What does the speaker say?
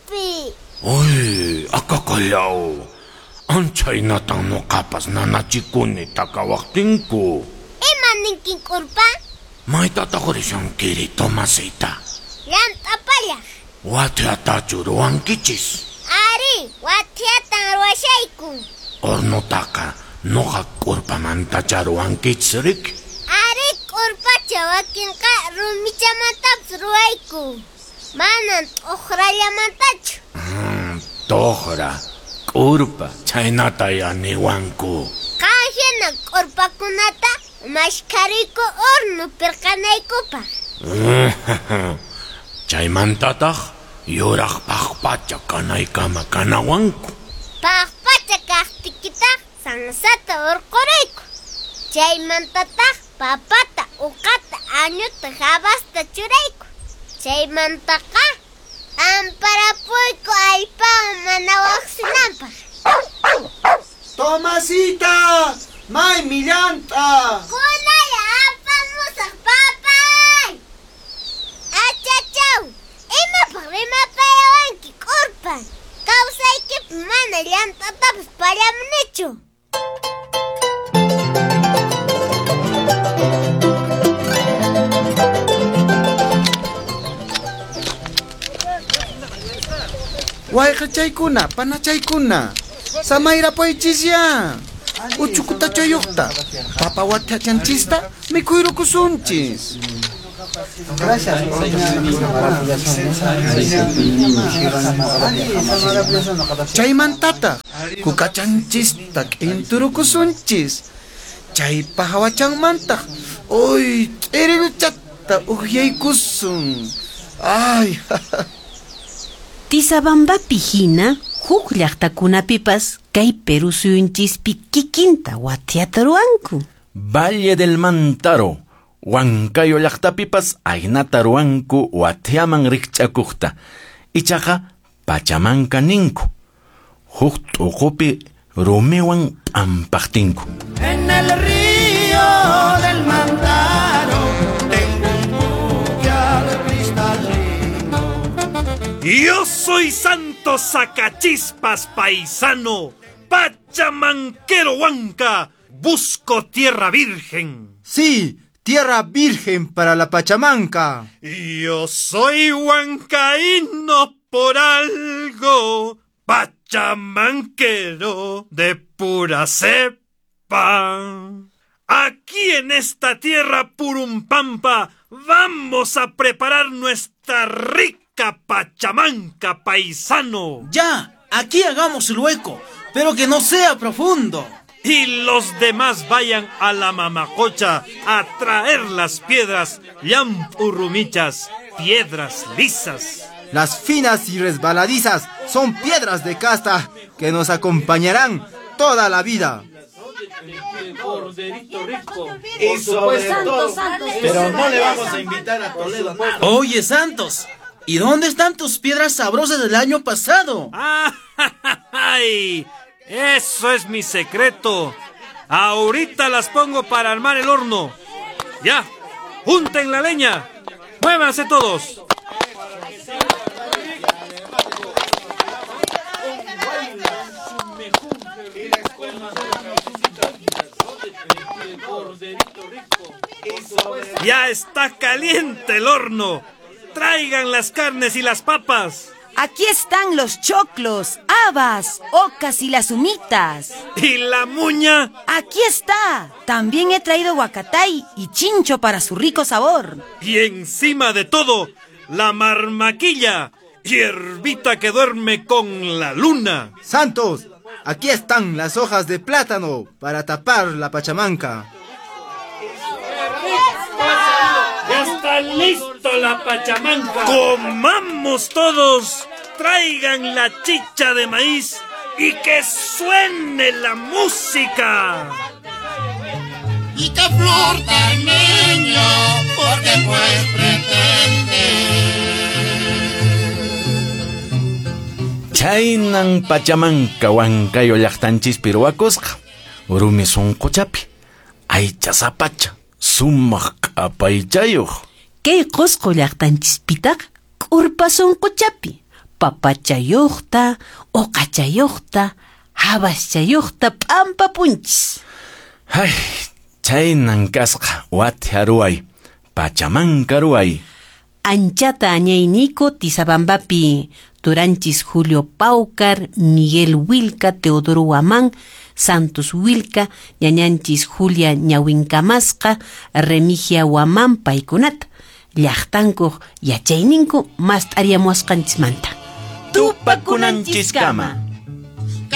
Umaypi. Uy, akakallaw. Anchaynatan nuqapas nanachikuni takawaqtinku. Ima ninkin k'urpa? Maytataq rishankiri, Tomasita? Llant'apallaq. Wathiatachu ruwankichis? Ari, wathiatan ruwashayku. Hornotaqa nuqa k'urpamantacha ruwankichis riki? Ari, k'urpacha wakinqa rumichamantapas ruwayku. Manan t'uqrallamantachu. T'uqra, k'urpa, chhaynata ya niwanku. Qan hina k'urpakunata mashkhariyku horno pirqanaykupaq. Chaymantataq yuraq paqpacha kanaykama kanawanku. Paqpacha kaqtikitaq sansata hurqurayku. Chaymantataq papata, uqata, añuta, habasta churayku. Chaymantaqa amparapuyku allpawan mana waqsinanpaq. Tomasita, maymi llant'a. Kunalla apamusaq, papay. Achachaw, imapaq rimapayawanki k'urpa? Kawsaykipi mana llant'atapas pallamunichu. Wayqachaykuna, panachaykuna, samayrapuychisya. Uchukutachayuqta, papa wathachanchista mikhuyrukusunchis. Chaymantataq kukachanchista k'inturukusunchis. Chaypa hawachanmantaq uy t'iriluchata ukyaykusun. Ay, Tisabambapi hina huk llaqtakunapipas kay Perú suyunchispi kikinta wathiata ruwanku. Valle del Mantaro, Huancayo llaqtapipas aynata ruwanku wathiaman rikch'akuqta. Ichaqa pachamanka ninku. Huk t'uqupi rumiwan p'ampaqtinku. En el río del Mantaro tengo un puquial cristalino. Yo soy Santos Sacachispas, paisano, pachamanquero huanca, busco tierra virgen. Sí, tierra virgen para la Pachamanca. Yo soy huancaíno por algo, pachamanquero de pura cepa. Aquí en esta tierra Purumpampa vamos a preparar nuestra rica Pachamanca, paisano. Ya, aquí hagamos el hueco, pero que no sea profundo. Y los demás vayan a la mamacocha a traer las piedras llampurrumichas, piedras lisas. Las finas y resbaladizas son piedras de casta que nos acompañarán toda la vida. Y sobre todo, pero no le vamos a invitar a Toledo nada. Oye, Santos, ¿y dónde están tus piedras sabrosas del año pasado? ¡Ay! Eso es mi secreto. Ahorita las pongo para armar el horno. Ya, junten la leña. Muévanse todos. Ya está caliente el horno. Traigan las carnes y las papas. Aquí están los choclos, habas, ocas y las humitas. ¿Y la muña? Aquí está. También he traído huacatay y chincho para su rico sabor. Y encima de todo, la marmaquilla, hierbita que duerme con la luna. Santos, aquí están las hojas de plátano para tapar la pachamanca. ¡Ya está listo la pachamanca! ¡Comamos todos! ¡Traigan la chicha de maíz y que suene la música! Y qué flor tan niño, porque pues pretende. Chaynan pachamanca Huancayo llaqtanchispi ruwakusqa. Rumi sunquchapi, aycha sapacha, sumaq q'apaychayuq. Kay Qusqu llaqtanchispitaq k'urpa sunquchapi, Papachayuqta, uqachayuqta, habaschayuqta p'ampapunchis. Ay, chaynan kasqa wathiya ruway, pachamanka ruway. Anchata añayniku Tizabambapi, turanchis Julio Paucar, Miguel Wilca, Teodoro Huamán, Santos Wilca, ñañanchis Julia Ñawinkamasqa, Remigia Huamán paykunata, llaqtankuq yachayninku mast'ariamuwasqanchismanta. Tupakunanchiskama.